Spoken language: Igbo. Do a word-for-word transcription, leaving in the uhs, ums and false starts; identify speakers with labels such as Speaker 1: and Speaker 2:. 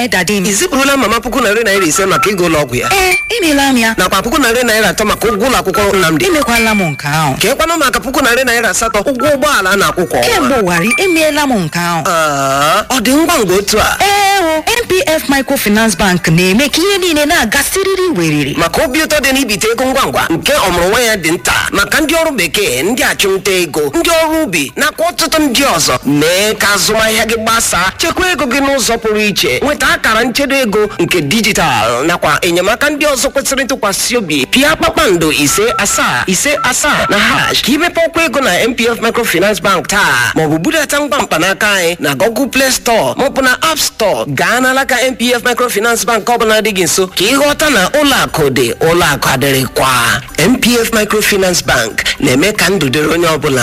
Speaker 1: Dadi m.
Speaker 2: Ị zipụrụla mama puku narị naira ise maka ego ụlọ ọgwụ ya?
Speaker 1: Ee, emeela m ya.
Speaker 2: Nakwa puku narị naira atọ maka ụgwọ ụlọ akwụkwọ Nnamdi?
Speaker 1: Emekwala m nke ahụ.
Speaker 2: Ka ịkwanụ maka puku narị naira asatọ ụgwọ ụgbọala a na-akwụ kwa ọnwa?
Speaker 1: Kemgbe ụwarị, emeela m nke ahụ.
Speaker 2: Aa, ọ dị ngwa ngwa otu a?
Speaker 1: Ee o, N P F Microfinance Bank na-eme ka ihe niile na-aga siriri weriri.
Speaker 2: Maka obi ụtọ dị n'ibite ego ngwa ngwa nke ọmụrụ nwa ya dị nta maka ndị ọrụ bekee, ndị achụmnta ego, ndị ọrụ ubi nakwa ọtụtụ ndị ọzọ. Mee ka azụmahịa gị gbasaa, chekwa ego gị n'ụzọ pụrụ iche, nweta akara nchedo ego nke dijitalụ nakwa enyemaka ndị ọzọ kwesịrị ntụkwasị obi. Pịa kpakpando ise asaa ise asaa na hash ka imepe ọkwa ego na N P F Microfinance Bank taa, maọbụ budata ngwa mkpanaka anyị na Google Play Store maọbụ na App Store. Gaa n'alaka N P F Microfinance Bank ọbụla dị gị nso ka ịghọta na ụlọ akụ dị, ụlọ akụ adịrịkwa. N P F Microfinance Bank na-eme ka ndụ dịrị onye ọbụla.